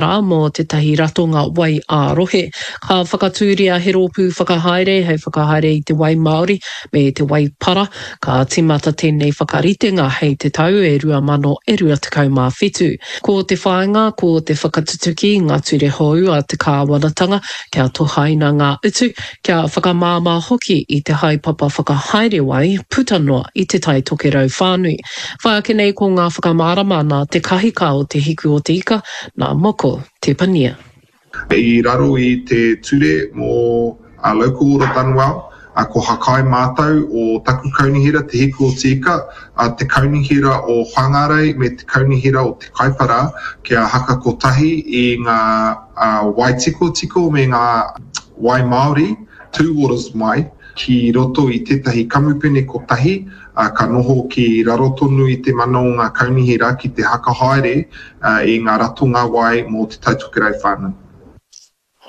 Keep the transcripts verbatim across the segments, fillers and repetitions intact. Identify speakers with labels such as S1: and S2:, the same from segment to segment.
S1: Rā mō tētahi ratonga wai ā-rohe. Ka whakatūria he rōpū whakahaere hei whakahaere i te wai māori me te wai para. Ka tīmata tēnei whakaritenga hei te tau e rua mano e rua tekau mā whitu. Ko te whāinga ko te whakatutuki i ngā ture hou a te kāwanatanga kia tohaina ngā utu, kia whakamāmā hoki i te haepapa whakahaere wai puta noa i Te Tai Tokerau whānui. Whai ake nei ko ngā whakamārama nā te kahika o Te Hiku o te Ika, nā Moko Te Pania.
S2: I raro i te ture mō Local Order Dunwell, ko Hakai mātou o taku kaunihera Te Hiku o Te Ika, te kaunihera o Whangarei me te kaunihera o Te Kaipara kia haka kotahi i ngā wai tikotiko me ngā wai māori, two waters mai, ki roto i tētahi kamupene kotahi, ka noho ki raro tonu i te mana o ngā kaunihera ki te hakahaere i ngā ratonga wai mō Te Tai Tokerau whānui.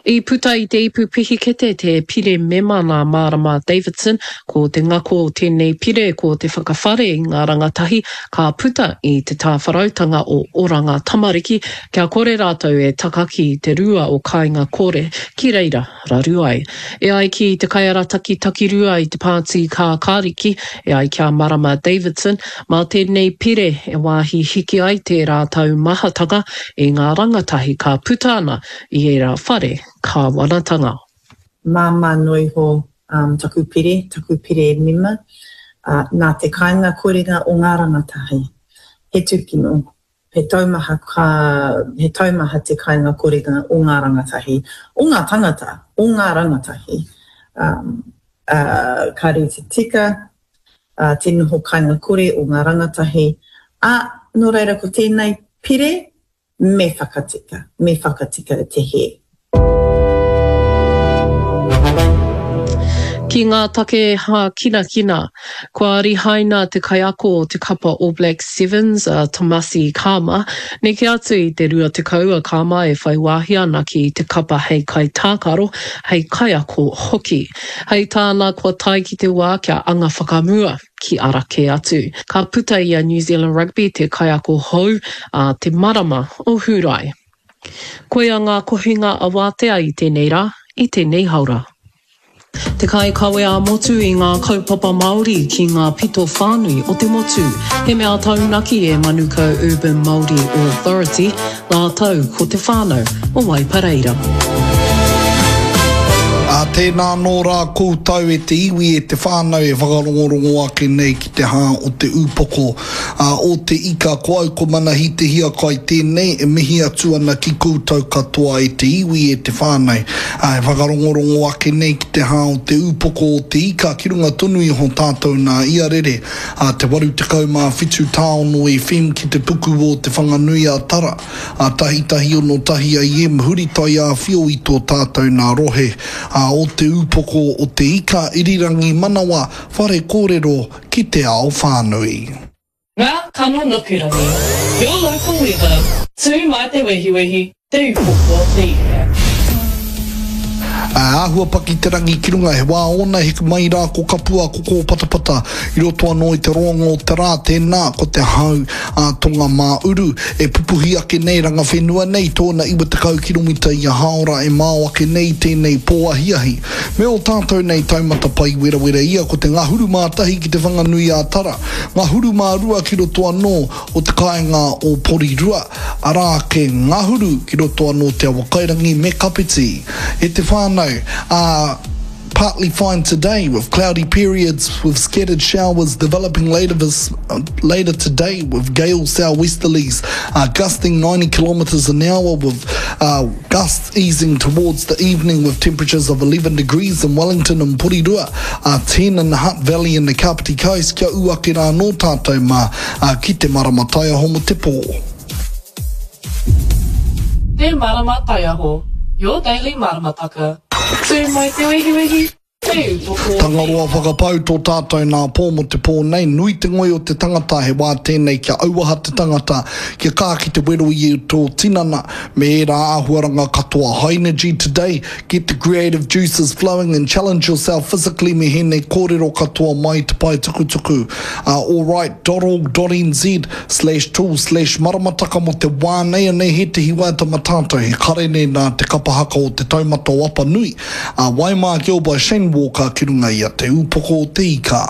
S1: I puta i te ipu pihikete te pire mema nā Marama Davidson, ko te ngako o tēnei pire ko te whakawhare i ngā rangatahi ka puta i te tāwharautanga o Oranga Tamariki kia kore rātou e takaki i te rua o Kāinga Kore ki reira raru ai. E ai ki te kaiarataki takirua i te Pāti Kākāriki, e ai ki a Marama Davidson, mā tēnei pire e wāhi hiki ai tērā taumahatanga i ngā rangatahi ka puta ana i ērā whare kāwanatanga.
S3: Māmā noa iho taku pire, taku pire mema, nā te kāinga korenga o ngā rangatahi. He tūkino. He taumaha ka, he taumaha te kainga korenga o ngā rangatahi, o ngā tangata, o ngā rangatahi. Um, uh, ka rite tika uh, te noho kainga kore o ngā rangatahi. Ā, nō reira ko tēnei pire, me whakatika, me whakatika te hē.
S1: Ki ngā take hākinakina, kua rihaina te kaiako o te kapa All Blacks Sevens a Tomasi Cama. Neke atu i te rua tekau a Cama e whai wāhi ana ki te kapa hei kaitākaro, hei kaiako hoki. Hei tāna kua tae ki te wā kia anga whakamua ki ara kē atu. Ka puta i a New Zealand Rugby te kaiako hou ā te marama o Hūrae. Koia ngā kohinga awātea i tēnei rā, i tēnei haora. Te kaikawe ā-motu i ngā kaupapa Māori ki ngā pito whānui o te motu. He mea taunaki e Manukau Urban Māori Authority rātou ko te whānau o Waipareira.
S4: Ā, tēnā anō rā koutou e te iwi, e te whānau e whakarongorongo ake nei ki te hā o te ūpoko, ā, o te ika, ko au ko Manahi Te Hiakai tēnei e mihi atu ana ki koutou katoa e te iwi, e te whānau, ā, e whakarongorongo ake nei ki te hā o te ūpoko o te ika ki runga tonu iho tātou nā ia rere, ā, te waru tekau mā whitu tāono FM ki te puku o Te Whanganui-a-Tara. A tahi tahi ono tahi A M huri taiāwhio i tō tātou nā rohe, a o te ūpoko o te ika irirangi manawa whare kōrero ki te ao whānui.
S1: Ngā kano nukurangi, Your local weather, Tū mai te wehiwehi, Te Ūpoko o te Ika.
S4: Ā, āhua paki te rangi ki runga, he wā ōna heke mai rā ko Kapua, ko Kōpatapata, i roto anō i te roanga o te rā, tēnā, ko te hau ā tonga mā uru, e pupuhi ake nei, rangawhenua nei, tōna iwa tekau kiromita ia hāora e mao ake nei i tēnei pō ahiahi. Me ō tātou nei taumata pai werawera ia, ko te ngahuru mā tahi ki Te Whanganui-ā-Tara, ngahuru mā rua ki roto anō o te kāinga o Porirua, arā ake ngahuru ki roto anō Te Awakairangi me Kapiti. E te whānau, ā, partly fine today with cloudy periods with scattered showers developing later this later today with gale southwesterlies uh, gusting ninety kilometres an hour with uh, gusts easing towards the evening with temperatures of eleven degrees in Wellington and Porirua, uh, ten in the Hutt Valley and the Kapiti Coast. Kia ū ake rā anō tātou mā, uh, ki te marama taiaho mo te pō.
S1: Te Marama Taiaho, your daily maramataka. Tū mai te wehiwehi,
S4: Tangaroa whakapau tō tātou nā pō mō te pō nei, nui te ngoi o te tangata, he wā tēnei kia auaha te tangata, kia kā ki te wero i tō tinana, me ērā āhuaranga katoa. High energy today, get the creative juices flowing and challenge yourself physically me hēnei kōrero katoa mai te pae tukutuku a alright dot org dot nz slash tool slash maramataka mō te wā nei anei hētehi waiata ma tātou he karene nā te kapa haka o Te Taumata o Apanui a Waimā Gill by Shane Walker ki runga i a Te Ūpoko o Te Ika.